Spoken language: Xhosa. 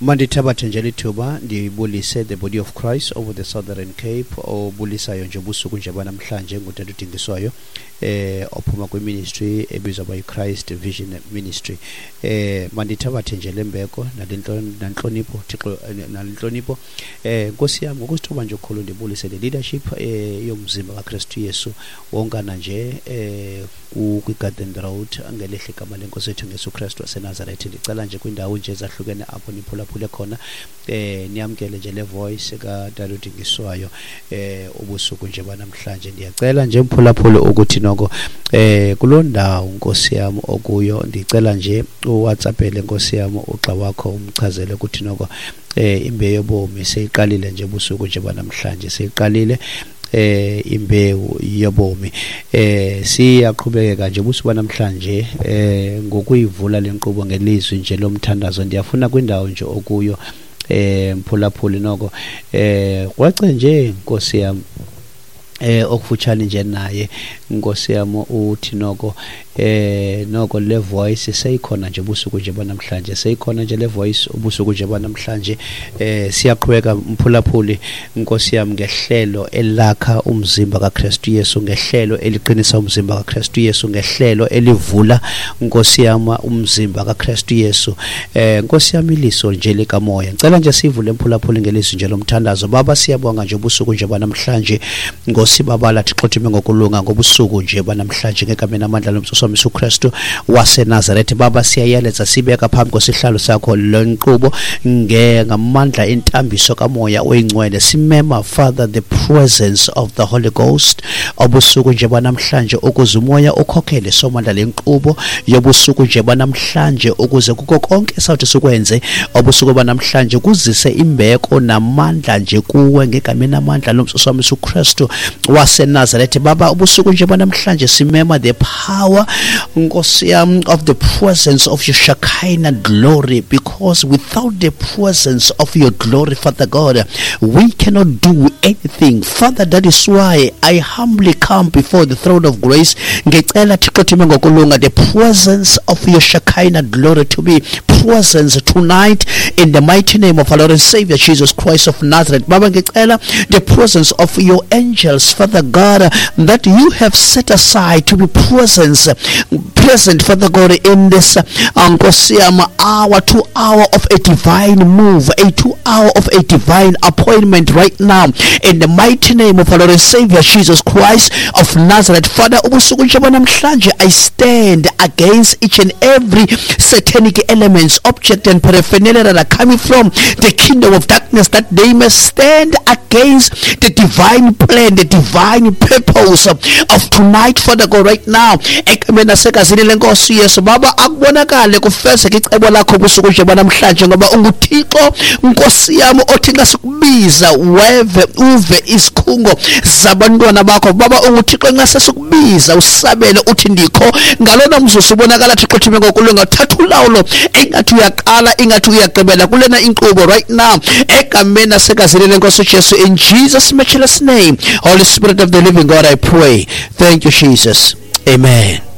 Mandithabathe nje lithuba ndibulise the body of Christ over the Southern Cape, obulisayo nje ubusuku nje banamhlanje ngutata uDingiswayo, ophuma kwiministry ebizwa by Christ Vision Ministry. Mandithabathe nje lembeko nalentlonipho, Thixo, nalentlonipho, Nkosi yam, ngokusithoba nje okukhulu ndibulise le leadership yomzimba kaKristu Yesu wonkana nje kwi-Garden Road ngelihle igama lenkosi yethu ngesu Kristu waseNazaretha. Ndicela nje kwindawo nje ezahlukene apho niphulaphule khona, niyamkele nje le voice kaTata uDingiswayo ubusuku nje banamhlanje. Ndiyacela nje mphulaphule ukuthi noko kuloo ndawo Nkosi yam okuyo, ndicela nje uWhatsAppele Nkosi yam ugxa wakho, umchazele ukuthi noko imbewu yobomi seyiqalile nje ubusuku nje banamhlanje, seyiqalile imbewu yobomi. Siyaqhubekeka nje ubusuku namhlanje ngokuyivula lenkqubo ngelizwi nje lomthandazo. Ndiyafuna kwindawo nje okuyo, mphulaphuli, noko kwace nje Nkosi yam okufutshane nje naye Nkosi yam, uthi noko noko le voice seyikhona nje ubusuku nje banamhlanje, seyikhona nje le voice ubusuku nje banamhlanje. Siyaqhubeka mphulaphuli Nkosi yam ngehlelo elakha umzimba kaKristu Yesu, ngehlelo eliqinisa umzimba kaKristu Yesu, ngehlelo elivula Nkosi yam umzimba kaKristu Yesu. Nkosi yam, iliso nje likamoya, ngicela nje sivule mphulaphuli ngelizwi nje lomthandazo. Baba, siyabonga nje ubusuku nje banamhlanje Nkosi babala Thixo thime ngokulunga ngobusuku nje banamhlanje ngegama namandla lomsuso Yesu Kristu waseNazaretha. Baba, siyayaletsa sibeka phambi kwesihlalo sakho le nkqubo ngamandla entambiso kamoya oyingcwele. Simema, Father, the presence of the Holy Ghost obusuku nje banamhlanje, ukuze umoya ukhokhele somandla le nkqubo yobusuku nje banamhlanje, ukuze kuko konke esawuthi sikwenze obusuku banamhlanje kuzise imbeko namandla nje kuwe ngegama namandla lomsuso Yesu Kristu waseNazaretha. Baba, ubusuku nje banamhlanje simema the power, Nkosi yam, of the presence of your Shekinah glory, because without the presence of your glory, Father God, we cannot do anything. Father, that is why I humbly come before the throne of grace, ngicela Thixo thime ngokulunga the presence of your Shekinah glory to be presence tonight in the mighty name of our Lord and Savior Jesus Christ of Nazareth. Baba, ngicela the presence of your angels, Father God, that you have set aside to be present, Father God, in this Nkosi yam hour, 2 hour of a divine move, a 2 hour of a divine appointment right now in the mighty name of our Lord and Savior Jesus Christ of Nazareth. Father, ubusuku nje namhlanje I stand against each and every satanic elements, object and paraphernalia that are coming from the kingdom of darkness, that they may stand against the divine plan, the divine purpose of tonight, Father God, right now egameni nasegazini lenkosi Yesu. Baba, akubonakale kufezeke icebo lakho ubusuku nje banamhlanje, ngoba unguThixo Nkosi yami othi nxa sikubiza weve, uve isikhungo zabantwana bakho. Baba, unguThixo nxa sesikubiza usabele uthi ndikho. Ngalona mzuzu ubonakala Thixo thime ngokulunga, thatha ulawulo, ingathi uyaqala, ingathi uyagqibela kulena inkqubo right now egameni nasegazini lenkosi Jesu. In Jesus' matchless name, Holy Spirit of the living God, I pray. Thank you, Jesus. Amen.